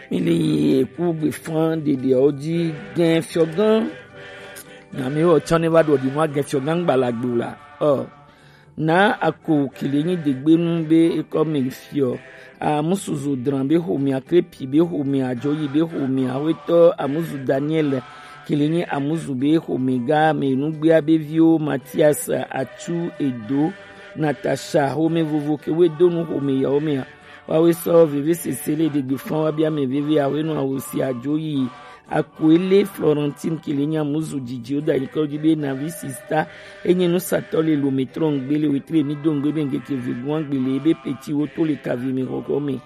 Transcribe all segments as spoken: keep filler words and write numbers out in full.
Mi li eku gbe fan ɖeɖeawo ji gɛn fiɔgan. Nyami wɔ tsɔ ne va ɖo ɖi mɔ agɛn fiɔgan gbalagbo la. Ɔ. Na ako kele nyi degbenu be ekɔ me fiɔ. Amusuzu dran be xomea, krepi be xomea, ajoyi be xomea, awetɔ amuzu Daniel kele nyi amuzu be xomega me nugbea be viwo Matias, Atsu, Edo, Natasha, xome vovo ke we do nu xome yawo mea. Wawe sɔ veve sese le ɖegbe fan wa bia me veve awe nu awo si ajoyi. Akoele Florentine kele nyi amuzu didi o da nyikɔ di be navi sista. Enye nu satɔ le lo me trɔ ngbe le wetre mi do ngbe be ngeke ve guan gbe le be peti wo to le kavi me xɔxɔ me.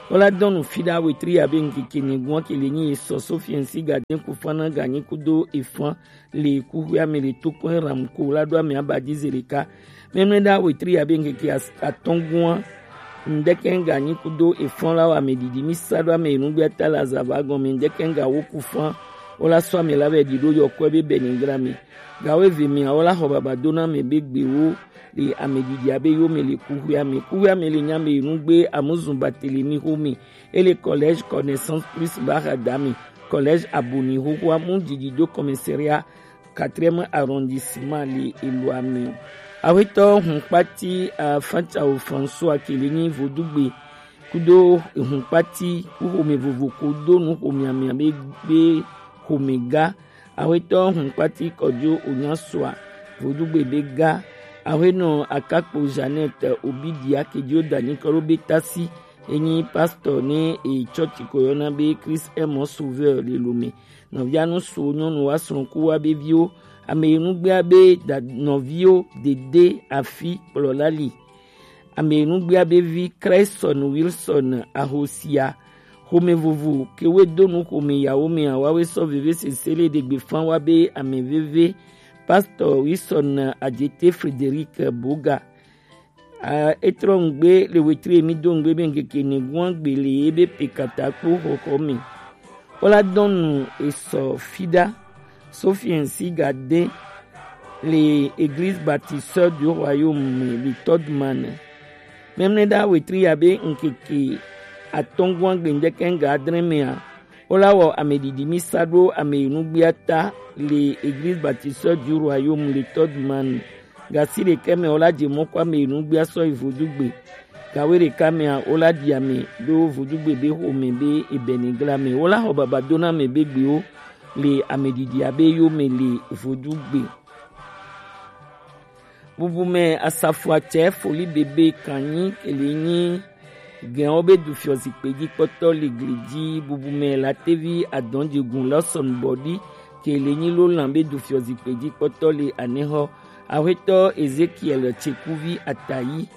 Wala dɔnu fi da wetri ya be ngeke ne guan kele nyi esɔ Sofiɛn si ga den ku fana ga nyi kudo efan le kuxuia me le to kɔn ram ko la do ame aba di zeleka. Mɛmlɛ da wetri ya be ngeke atɔn guan. Ndeke ga nyi kudo efan la wa me didi mi sa do ame enugbe ata la zava gɔn me ndeke ga wo ku fan. Wala sɔ ame la be di do yɔ kɔe be bɛni gra me. Gawo eve mea, wola xɔ baba do na ame be gbewo le ame didi abe yo me le kuxuia me. Kuxuia me le nya me enugbe amuzu Barthélemy xome. Ele Collège Connaissance Plus Bahadame, Collège Aboni xoxoa mu didi do commissariat quatrième arrondissement le eloa me. Awetɔ hunkpati Afantsao François kele nyi vodugbe kudo hunkpati kuxome vovo ko do nu xome amia be be xome ga. Awetɔ hunkpati kɔjo onyasoa vodugbe be ga. Awenɔ akakpo Jeannette Obidia kejo dani kɔlo be tasi. Enyi pastor ne e church ko yɔna be Christ est mon sauveur le lome. Nɔvia nu so nyɔnu wa srɔ̃ ku wa be viwo. Ame enugbea be da nɔviwo dede afi kplɔla li. Ame enugbea be vi Craigson Wilson Ahosia. Xome vovo ke we do nu xome yawo me awawe sɔ veve sese le ɖegbe fan wa be ame veve. Pastor Wilson Adjete Frederic Boga. A, etrɔ ngbe le wetri mi do ngbe be ngeke ne guan gbe le ebe pekata kpo xɔxɔ me. Wola dɔnu esɔ fida. Sophien si ga de le Église Baptiste du Royaume me le Todman. Mɛmlɛ da wetri ya be nkeke atɔngua gbendeke nga adre mea, wola wɔ ame didi mi sa ɖo ame enugbiata le Église Baptiste du Royaume le Todman. Gasi ɖekɛ mɛ wola je mɔ kɔ ame enugbi asɔ yi vodugbe. Gawe ɖeka mɛa wola ɖi ame ɖo vodugbe be xome be ebɛnegla mɛ. Wola xɔ baba do na ame be gbewo le ame didi abe yo me le vodugbe. Bubu mɛ asafoatsɛ foli bebe kanyi kele nyi gɛnwo be du fiɔ zikpe ji kpɔtɔ le gli ji. Bubu mɛ latevi adɔnjegun lɔsɔn bɔdi kele nyi lolan be du fiɔ zikpe ji kpɔtɔ le anexɔ. Axwetɔ Ezekiel Tsekuvi Atayi.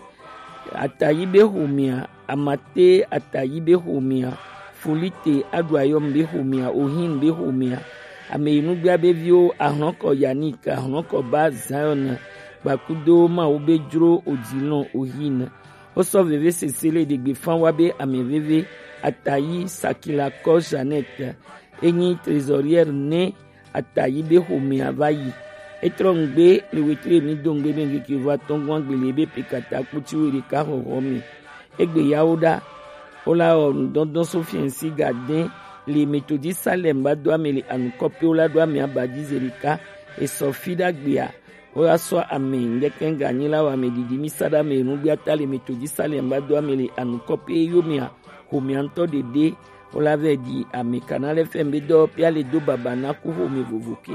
Atayi be xomea, Amate Atayi be xomea, Folite Aɖuayɔm be xomea, Ohin be xomea, ame yi nugbea be viwo ahlɔkɔ Yanik, ahlɔkɔ ba Zion, gbakudo Mawu be dzro odilɔn Ohin. Wosɔ veve sese le ɖegbe fan wa be ame veve, Atayi Sakilakɔ Jeannette, enyi trésorière ne Atayi be xomea va yi. Etrɔ nugbe le wetre mi do nugbe be ngeke va tɔngua gbele be pekata kputi we ɖeka xɔxɔ me. Egbe yawo ɖa. Wola wɔ nudɔndɔn Sofiɛn si ga dɛn le Metodi Salem ba do ame le anukɔpe wola do ame aba ji ze ɖeka. Esɔ fi ɖa gbea. Wola sɔ ame ŋdɛkɛ ga nyi la wɔ ame didi mi sa ɖa ame nugbe ata le Metodi Salem ba do ame le anukɔpe yo mea. Xomea ŋutɔ ɖeɖe wola vɛ di ame kana lɛ fɛn be dɔ pia le do baba na ku xome vovo ke.